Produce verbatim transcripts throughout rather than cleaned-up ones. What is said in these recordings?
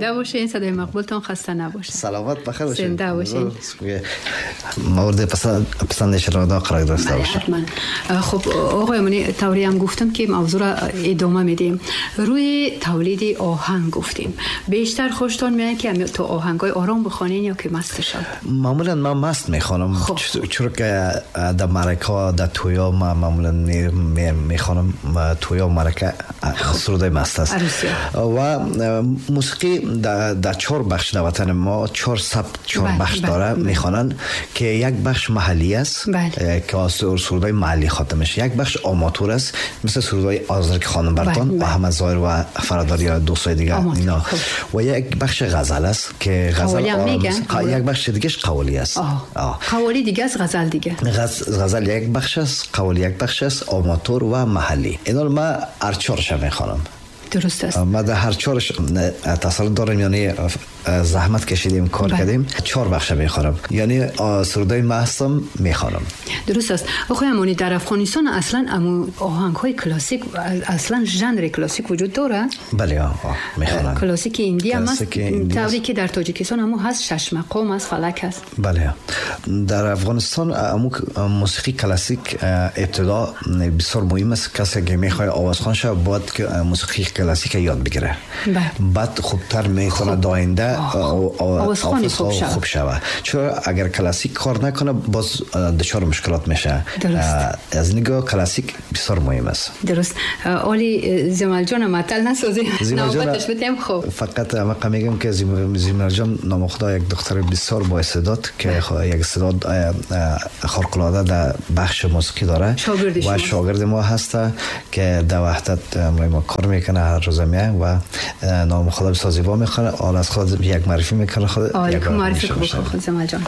زنده باشین، صدای مقبولتون خسته نباشه. سلامت بخیر باشین. زنده باشین. مورد پسند پسند شنونده قرار گرفته باشه. حتما. خب آقای امانی، طوری هم گفتم که موضوع را ادامه میدیم. روی تولید آهنگ گفتیم. بیشتر خوشتون میاد که تو آهنگای آرام بخوانین یا که مست شد؟ معمولا من مست میخوانم. خب. چرا که در معرکه در تویا من معمولا میخوانم، تویا معرکه سرودای مست است. و موسیقی در, در چهار بخش در وطن ما چهار سبک چهار بخش داره میخوانن که یک بخش محلی است که از سرودای محلی خوانده میشه، یک بخش آماتور است مثل سرودای آذر که خانم برتان و احمد ظاهر و فراداری یا دوستای دیگه اینا، و یک بخش غزل است که غزل یک بخش دیگهش قوالی است. قوالی دیگه از غزل دیگه. غزل یک بخش است، قوالی یک بخش است، آماتور و محلی. اینا ما هر چهارش میخوانم. درست است. ما در هر چهارش تسلط داریم، یعنی زحمت کشیدیم کار بله. کردیم. چهار بخش میخوانم، یعنی سرودای مستم میخوانم. درست است. آقای امانی، در افغانستان اصلا امو آهنگ های کلاسیک، اصلا ژانر کلاسیک وجود داره؟ بله آه میخوانم. کلاسیک ایندی هم است، طوری که در تاجیکستان امو هست، شش مقام است، فلک است. بله در افغانستان امو موسیقی کلاسیک ابتدا بسیار مهم است. کسی که میخواد آوازخوان شه باید که موسیقی کلاسیک یاد بگیره. بله. بعد خوبتر میخونه داینده آوازخوانی خوب شود. خوب شود. چرا اگر کلاسیک کار نکنه باز دچار مشکلات میشه. درست. از نگاه کلاسیک بسیار مهم است. درست. اولی زیمل جان معطل نسازیم. نوبتش بدیم. خب فقط من میگم که زیمل جان نام خدا یک دختر بسیار با استعداد که یک استعداد خارق العاده در بخش موسیقی داره و شاگرد ما هست که در وحدت ما کار میکنه هر روز میه و نام خدا بسیار زیبا میخونه. آل از خود یک معرفی میکنه خود یک معرفی خود زیمل جان.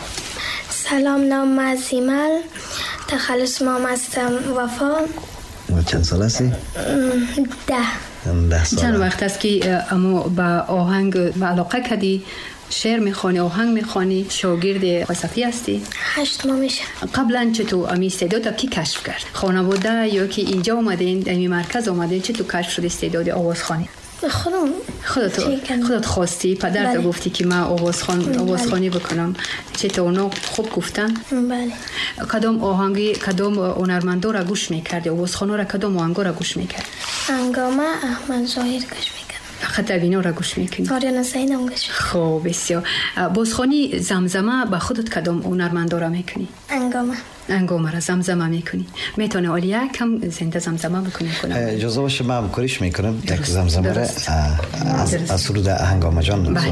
سلام، نام من زیمل، تخلص مام هستم وفا. چند سال هستی؟ ده. ده سال. چند وقت است که امو با آهنگ علاقه کردی؟ شعر میخوانی، آهنگ میخوانی، شاگرد صفی هستی؟ هشت ماه میشه. قبلا چطور امی استعداد کی کشف کرد؟ خانواده یا که اینجا اومدین، امی مرکز اومدین، چطور کشف شد استعداد آوازخوانی؟ خودم خودت خودت خواستی؟ پدرت گفتی که من آوازخوان آوازخوانی بکنم، چطور اونا خوب گفتن؟ بله. کدام آهنگی، کدام هنرمندا را گوش میکردی؟ آوازخوانا را کدام آهنگا را گوش میکردی؟ هنگامه احمد ظاهر گوش میکردم. فقط اینا را گوش میکنی؟ آریانا سعید هم گوش. خب بسیار. بازخوانی زمزمه به خودت کدام هنرمندا را میکنی؟ هنگامه. هنگامه را زمزمه میکنی. میتونه عالیه کم زنده زمزمه بکنی؟ اجازه باشه من همکاریش میکنم یک زمزمه را از از سرود هنگامه جان. بله.